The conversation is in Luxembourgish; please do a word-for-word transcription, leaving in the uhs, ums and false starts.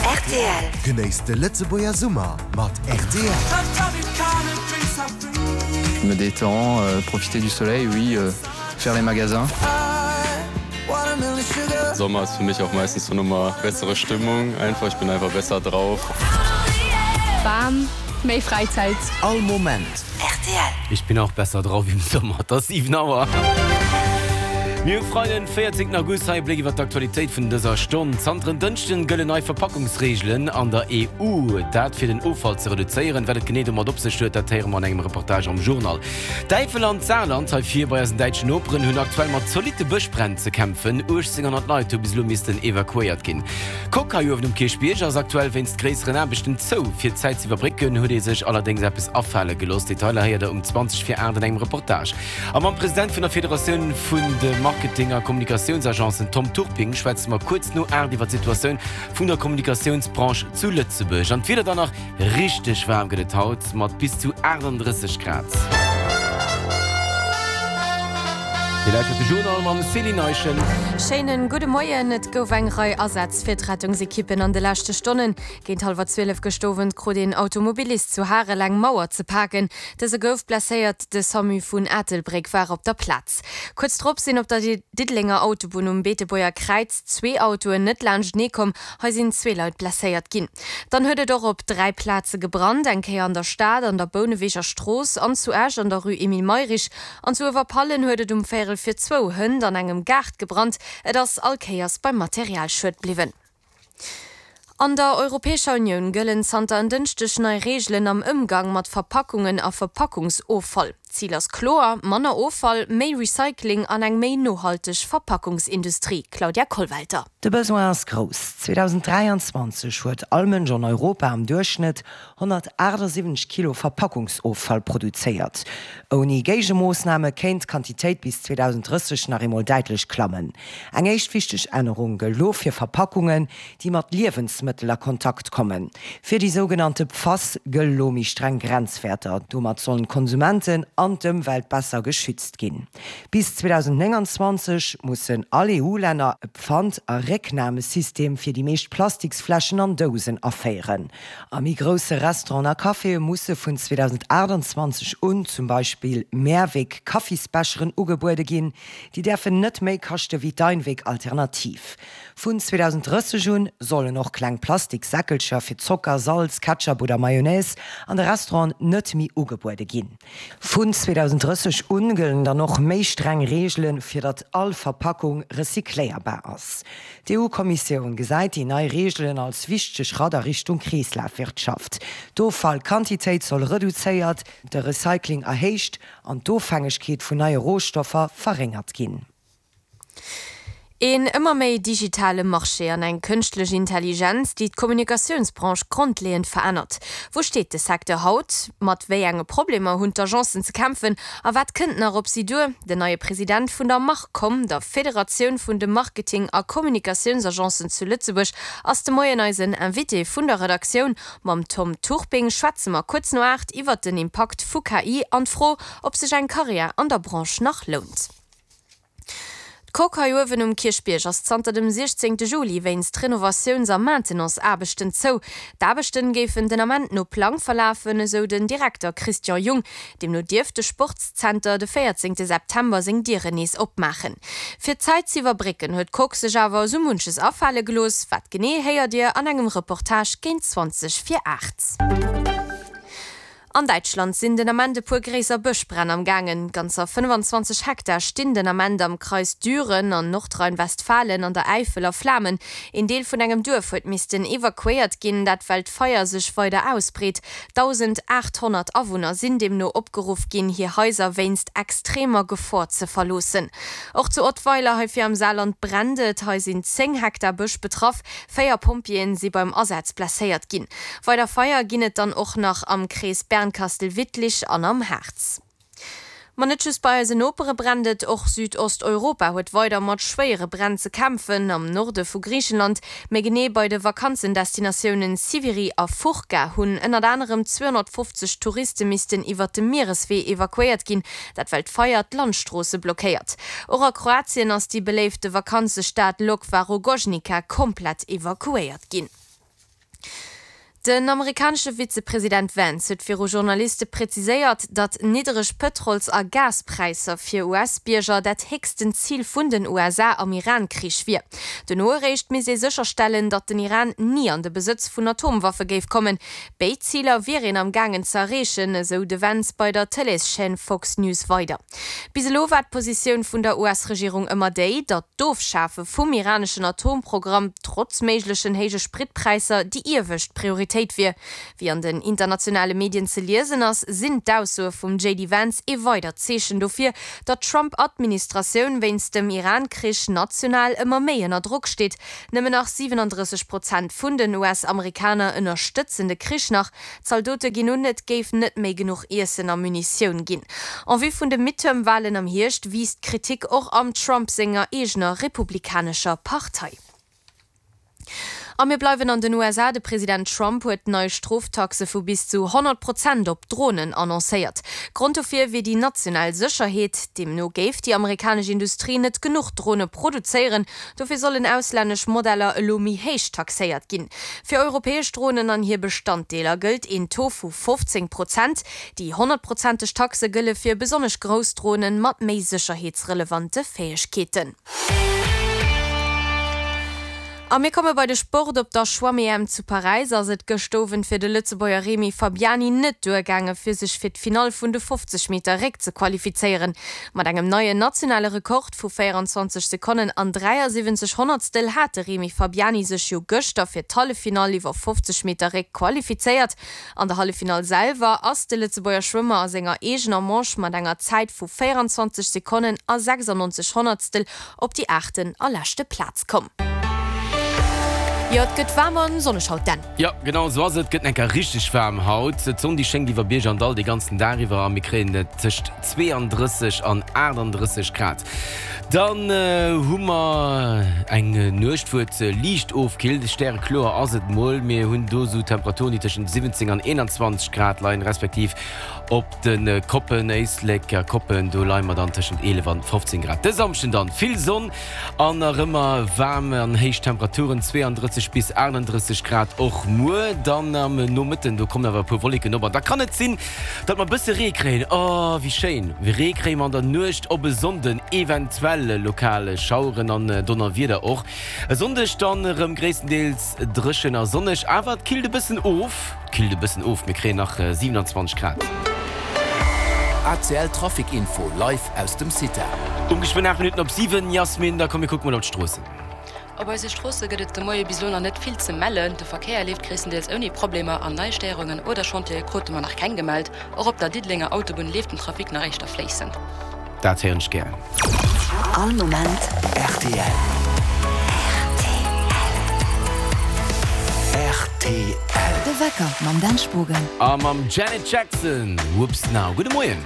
Rtl. Genéisst de Lëtzebuerger Summer mat rtl. Je me détends, euh, profiter du soleil, oui, euh, faire les magasins. Sommer ist für mich auch meistens so nochmal bessere Stimmung. Einfach, ich bin einfach besser drauf. Bam, méi Fräizäit. All Moment. Rtl. Ich bin auch besser drauf im Sommer. Et ass siwen Auer. Mir hu Freiden, véierzéngten August. Hei e Bléck iwwer d'Aktualitéit vun dëser Stonn. Zanter en Dënschden gëllen nei Verpackungsreegelen an der E U. Dat fir den Offall ze reduzéieren. Wat et genee domat op sech huet, dat héiere mer an engem Reportage am Journal. D'Äifel an d'Saarland, hei vir bei eisen däitschen Noperen, hunn aktuell mat zolitte Bëschbränn ze kämpfen. uechtzénghonnert Leit hu bis elo missten evakuéiert ginn. D'Coque hei uewen um Kierchbierg ass aktuell wéinst gréisseren Aarbechten zou. Fir d'Zäit ze iwwerbrécken, huet ee sech allerdéngs eppes afale gelooss. Detailer héiert der um zwanzeg vir aacht an engem Reportage. A mam President vun der Federatioun vun de Marketing a Kommunikatiounsagencen Tom Turping schwätze mer kuerz no aacht iwwer d'Situatioun vun der Kommunikatiounsbranche zu Lëtzebuerg. An d'Wieder dann nach, Richteg waarm gëtt et haut mat bis zu aachtanddrësseg Grad. Dir lauschtert de Journal mam Céline Eischen. Schéinen gudde Moien. Et gouf eng Rei Asätz fir d'Rettungsekippen an de leschte Stonnen. Géint hallwer zwielef gëscht Owend krut een Automobilist zu Harel eng Mauer ze paken. Dëse gouf blesséiert, de Samu vun Ettelbréck war op der Plaz. Kuerz drop sinn op der Diddelenger Autobunn um Beetebuerger Kräiz zwee Autoen net laanschtenee komm, hei sinn zwee Leit blesséiert ginn. Dann huet et och op dräi Plaze gebrannt, eng Kéier an der Stad an der Bouneweger Strooss an zu Esch an der Rue Emile Mayrisch. An zu Uewerpallen huet et um Véierel vir zwou hënt an engem Gaart gebrannt. Et ass all Kéiers beim Materialschued bliwwen. An der Europäescher Unioun gëllen zanter en Dënschdeg nei Reegelen am Ëmgang mat Verpackungen a Verpackungsoffall. Zil ass kloer, manner Offall, méi Recycling an eng méi nohalteg Verpackungsindustrie. Claudia Kollwelter. De Besoin ass grouss. zweedausenddräianzwanzeg huet all Mënsch an Europa am Duerchschnëtt honnertaachtsiwwenzeg Kilo Verpackungsoffall produzéiert. Ouni Géigemoossname kéint d'Quantitéit bis zweedausenddrësseg nach eemol däitlech klammen. Eng éischt wichteg Ännerung gëllt lo fir Verpackungen, déi mat Liewensmëttel a Kontakt kommen. Fir déi sougenannte Pfas gëlle lo méi streng Grenzwäerter. Domat sollen d'Konsumenten an d'Ëmwelt besser geschützt ginn. Bis zweedausendnénganzwanzeg mussen all E U-Länner e Pfand a Récknamesystem fir déi meescht Plastiksfläschen an Dousen aféieren. A méi grousse Restauranten a Caféë musse vun zweedausendaachtanzwanzeg un zum Beispill Mehrweg-Kaffisbecheren ugebuede ginn, déi däerfen net méi kaschte wéi d'Einweg-Alternativ. Vun zweedausenddrësseg un sollen och kleng Plastikssäckelcher fir Zocker, Salz, Ketchup oder Mayonnaise an de Restauranten net méi ugebuede ginn. Vun zweedausenddrësseg un gëllen dann och méi streng Reegelen, fir datt all Verpackung recycléierbar ass. D'E U-Kommissioun gesäit déi nei Reegelen als wichtege Schratt a Richtung Kreeslafwirtschaft. D'Offallquantitéit soll reduzéiert, de Recycling erhéicht an d'Ofhängegkeet vun neie Rohstoffer verréngert ginn. Een ëmmer méi digitale Marché an eng kënschtlech Intelligenz, déi d'Kommunikatiounsbranche grondleeënd verännert. Wou steet de Secteur haut? Mat wéi enge Problemer hunn d'Agencen ze kämpfen a wat kënnt nach op si duer? Den neie President vun der MarCom, der Federatioun vun de Marketing a Kommunikatiounsagencen zu Lëtzebuerg, ass de Moien eisen Invité vun der Redaktioun. Mam Tom Turping schwätze mer kuerz no aacht iwwert den Impakt vu K I an d'Fro, ob sech eng Karriär an der Branche nach lount. D'Coque hei uewen um Kierchbierg ass zanter dem siechzéngte Juli wéinst Renovatiouns a Maintenance-Aarbechten zou. D'Aarbechten géifen den Ament no Plang verlafen, esou den Direkter Christian Jung. Deemno dierft de Sportszenter de véierzéngte September seng Dieren nees opmaachen. Fir d'Zäit z'iwwerbrécken huet d'Coque sech awer esou munches afale gelooss. Wat genee, héiert Dir an engem Reportage géint zwanzeg vir aacht. An Däitschland sinn den Ament e puer gréisser Bëschbränn am gaangen. Ganzer fënnefanzwanzeg Hektar stinn den Ament am Kreis Düren an Nordrhein-Westfalen an der Äifel a Flamen. Een Deel vun engem Duerf huet missten evakuéiert ginn, dat well d'Feier sech weider ausbreet. dausendaathonnert Awunner sinn deemno opgeruff ginn, hir Haiser wéinst extremer Gefor ze verloossen. Och zu Ottweiler hei vir am Saarland brennt et. Hei sinn zéng Hektar Bësch betraff. Véier Pompjeeën si beim Asaz blesséiert ginn. Weider Feier ginn et dann och nach am Krees Bernkastel-Wittlich an am Harz. Ma net just bei eisen Nopere brennt et, och Südosteuropa huet weider mat schwéiere Bränn ze kämpfen. Am Norde vu Griichenland, méi genee bei de Vakanzendestinatiounen Siviri a Fourka, hunn ënnert anerem zweehonnertfofzeg Touriste missten iwwert de Miereswee evakuéiert ginn, dat well d'Feier d'Landstroosse blockéiert. Och a Kroatien ass déi beléifte Vakanzestad Lokva Rogoznica komplett evakuéiert ginn. Den amerikanesche Vizepresident Vance huet viru Journaliste präziséiert, datt niddereg Pëtrols a Gaspräisser fir U S-Bierger dat héchsten Zil vun den U S A am Iran-Krich wier. Dono eréischt misst ee sécherstellen, datt den Iran ni an de Besëtz vun Atomwaffe géif kommen. Béid Ziler wier een am gaangen ze erreechen, esou de Vance bei der Tëleeschaîne Fox News weider. Bis elo war d'Positioun vun der U S-Regierung ëmmer déi, datt d'Ofschafe vum iraneschen Atomprogramm trotz méiglechen héije Spritpräisser déi iewescht Prioritéit wier. Wéi an den internationale Medien ze liesen ass, sinn d'Aussoe vum J D Vance ee weidert Zeechen dofir, datt d'Trump-Administratioun wéinst dem Iran-Krich national ëmmer méi ënner Drock steet. Nëmmen nach siwenandrësseg Prozent vun den U S-Amerikaner ënnerstëtzen de Krich nach. Zaldote ginn un, et géif net méi genuch Iessen a Munitioun ginn. En vue vun de Midterm-Walen am Hierscht wiisst d'Kritik och am Trump senger eegener republikanescher Partei. A mir bleiwen an den U S A, De President Trump huet nei Stroftaxe vu bis zu honnert Prozent op Dronen annoncéiert. Grond dofir wier déi national Sécherheet. Deemno géif déi amerikanesch Industrie net genuch Drone produzéieren, dofir sollen auslännesch Modeller elo méi héich taxéiert ginn. Fir europäesch Dronen an hir Bestanddeeler gëllt een Taux vu fofzéng Prozent. Déi honnertprozenteg Taxe gëlle fir besonnesch grouss Dronen mat méi sécherheetsrelevante Fäegkeeten. A mir komme bei de Sport. Op der Schwamm-E M zu Paräis ass et gëscht Owend fir de Lëtzebuerger Remy Fabiani net duergaange fir sech fir d'Finall vun de fofzeg Meter Réck ze qualifizéieren. Mat engem neien nationale Rekord vu véierenzwanzeg Sekonnen an dräiasiwwenzeg Honnertstel hat de Remy Fabiani sech jo gëschter fir d'Halleffinall iwwer fofzeg Meter Réck qualifizéiert. An der Halleffinall selwer ass de Lëtzebuerger Schwëmmer a senger eegener Manche mat enger Zäit vu véierenzwanzeg Sekonnen a sechsannonzeg Honnertstel op déi aachten a leschte Plaz komm. Jo, et gëtt waarm an sonneg haut, Dan. Jo, genau esou ass et. Et gëtt enker richteg waarm haut. D'Sonn déi schéngt iwwer Bierg an Dall dee ganzen Dag iwwer a mir kréien et tëscht zweeandrësseg an aachtandrësseg Grad. Dann hu mer eng Nuecht, wou et liicht ofkillt. Stärekloer ass et mol. Mir hunn do esou Temperaturen, déi tëschent siwwenzéng an eenanzwanzeg Grad leien, respektiv op de Koppen, Éislek a Koppen, do leie mer dann tëschent eelef an fofzéng Grad. De Samschden dann vill Sonn an nach ëmmer waarm an héich Temperaturen, zweeandrësseg bis achtandrësseg Grad och muer. Dann am Nomëtten, do kommen awer e puer Wolleken op an da kann et sinn, datt mer e bësse Ree kréien. Oh, wéi schéin! Ree kréie mer an der Nuecht op e Sonnden, eventuell lokal Schaueren an Donnerwieder och. E Sonndeg dann erëm gréisstendeels dréchen a sonneg, awer et killt e bëssen of. Killt e bëssen of, mir kréien nach siewenundzwanzeg Grad. A C L Trafic Info live aus dem CITA. Um geschwënn aacht Minutten op siwen, Jasmin, da komm mir kucke mol op d'Stroossen. Op eise Stroosse gëtt et de Moie bis elo nach net vill ze mellen. De Verkéier leeft gréisstendeels ouni Problemer an nei Stéierungen oder Chantiere krute mer nach keng gemellt. Och op der Diddelenger Autobunn leeft den Trafic nach éischter fléissend. Dat héieren ech gär. All Moment R T L. R T L. De Wecker mam Dan Spogen. A mam Janet Jackson, Whoops Now. Gudde Moien.